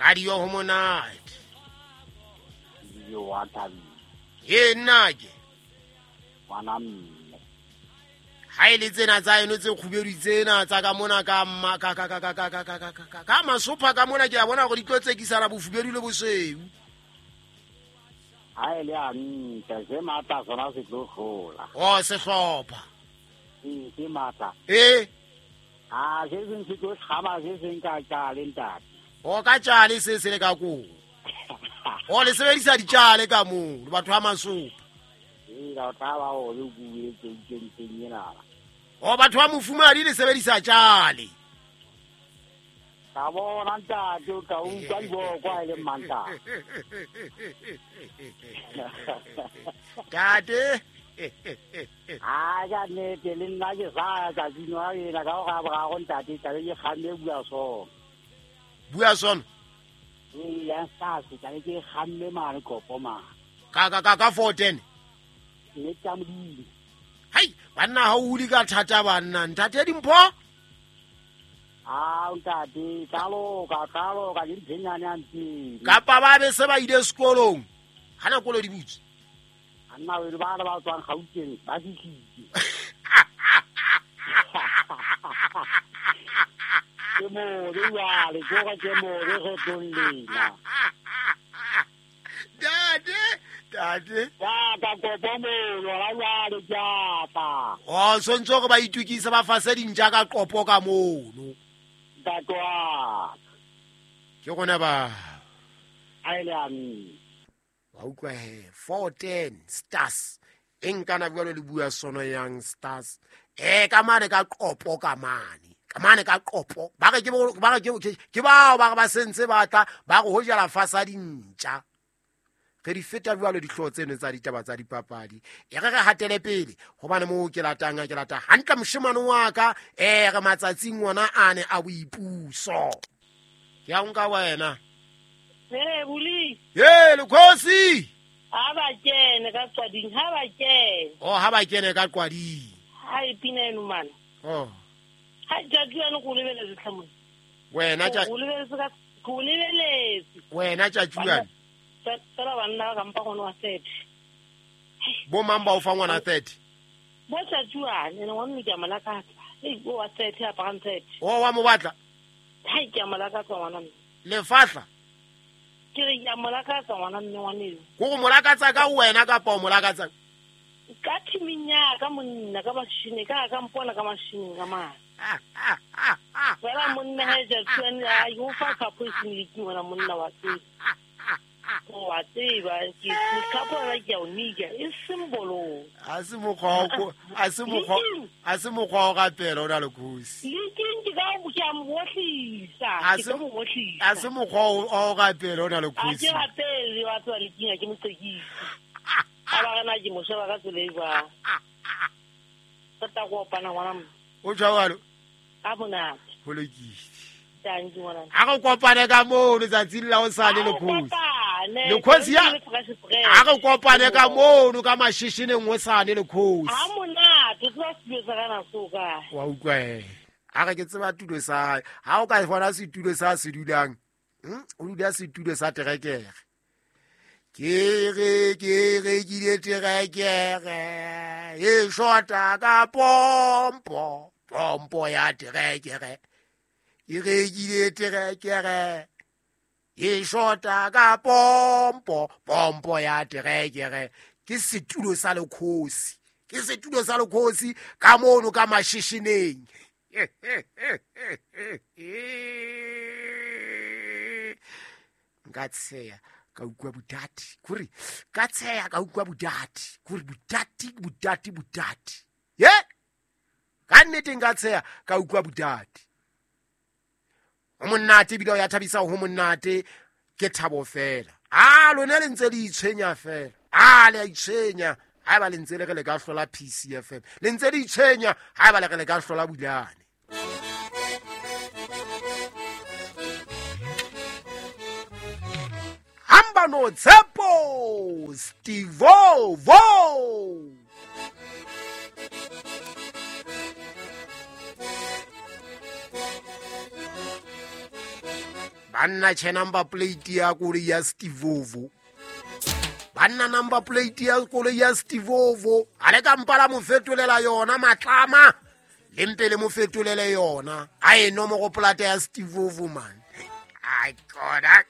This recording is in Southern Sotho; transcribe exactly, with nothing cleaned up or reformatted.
Radio ho monate. Yo wa thabile. Ye nna ke. Ngwana mme. Ha ile tsena tsa eno tse kgubedu tsena tsa ka mona ka ka ka ka ka ka ka ka ka ka masopha ka mona ke a bona gore di tlo tsekisana bofubedu le bosweu. Ha ile a ntle se matla sona se tlo hlola. Oh sehlopha. Ee se matla. Eh. Ah se seng se tlo hlaba se seng ka tjale ntate. O ka tjale se se le ka koo. O le sebedisa ditjale ka moo le batho ba masopha. Ee la tla ba o le bue tse teng ena. O batho ba mofumadi le sebedisa tjale. Ka bona ntate o ka utlwa diboko ha e le mmanta. Tate. Ah ja nnete le nna ke sa ya tsatsing wa ena ka go ga boraro ntate tla be ke kgamme bua sona. Bua sona? Ee ya stars tla be ke kgamme mane kopo mane. Ka ka ka ka four ten. Nnete ya Modimo. Hai banna ha o hule ka thata banna ntate Dimpho. Ah ntate tla loka tla loka ke ntsenyane a ntse. Kapa ba be se ba ile sekolong. Ha na kolo di butse. Anna we ba ba tswang Gauteng ba fihlile. Ke mo le jwale ke gore ke mo le re tlong lena. Tate tate. Ya ka kopo mo lora jwale ke a tla. Oh sontse gore ba itukise ba fase dintja ka qopo ka mono. Ntate wa. Ke gona ba. A ile a mme. Wa utlwa he four ten stars e nkana jwalo le bua sono yang stars eh ka mane ka qopo ka mane ka mane ka qopo ba re ke ba re ke ke bao ba re ba sentse ba tla ba go hojela fasa dintja re di feta jwalo dihlooho tseno tsa ditaba tsa dipapadi e re re hatele pele hobane mo ke latang ke lata hantle moshemane wa ka eh re matsatsing wona ane a boipuso ke a nka wena. Hey, Buli. Hey, Lekgosi. Ha ba kene ka qwading, ha ba kene. Oh, ha ba kene ka qwading. Ha e pina eno mana. Oh. Ha tjatjwana go lebeletse tlhamong. Wena tja go lebeletse ka go lebeletse. Wena tjatjwana. Tsela banna ka mpa gona wa thirty. Bo mang ba o fa ngwana thirty? Bo tjatjwana, ene wa mme ke a molakatsa. Ei, bo wa thirty a parang thirty. Oh, wa mo batla? Ha ke a molakatsa ngwana mme. Lefahla. Ke re ya molakatsa ngwana mme ngwaneo. Ko go molakatsa ka wena kapa o molakatsa? Ka thiming ya ka monna ka mashine ka ka mpona ka mashine ka mane. Fela monna he ja tshwane a yo fa ka poison le ke ngwana monna wa tseba. O wa tseba ke ka bona ke o nika e symbolo. A se mokgwa o a se mokgwa a se mokgwa o rapela o na le khosi. Le ke ka o ke a mo bohlisa ke mo bohlisa. A se mokgwa o rapela o na le khosi. A ke rapele wa tswa le kinga ke motsekisi. A ba rena ke mo sheba ka tsela e jwang. Tota go opana ngwana mme. O jwalo. A monate. Ho lokile. Thank you ngwana. A re kopane ka moo letsatsing la hosane le khosi. Lekgosi ya a re kopane ka mono ka mashishineng hosane le khosi. Ha monate tswa setulo sa kana so ka. Wa utlwa he. A re ke tseba tulo sa hae. Ha o ka bona setulo sa se dulang. Hm, o dula setulo sa terekere. Ke re ke re ke le terekere. E shota ka pompo, pompo ya terekere. E re ke le terekere. E shota ka pompo, pompo ya terekere. Ke setulo sa lekgosi. Ke setulo sa lekgosi ka mono ka mashishineng. Nka tsheya ka utlwa bodati. Kore ka tsheya ka utlwa bodati. Kore bodati bodati bodati. Ye? Ka nnete nka tsheya ka utlwa bodati. Ho monate ebile o ya thabisa ho monate ke thabo fela. Ah lona le ntse le itshwenya fela. Ah le a itshwenya ha ba le ntse le re le ka hlola P C F M. Le ntse le itshwenya ha ba le re le ka hlola Bulane. Hamba no Tshepo Stivo Vo. Banna tjhe, number plate ya koloi ya Stevovo. Banna, number plate ya koloi ya Stevovo, a le ka mpa la mo fetolela yona matlama, le mpe le mo fetolele yona. A e nomoro plate ya Stevovo, man. Ai, koda.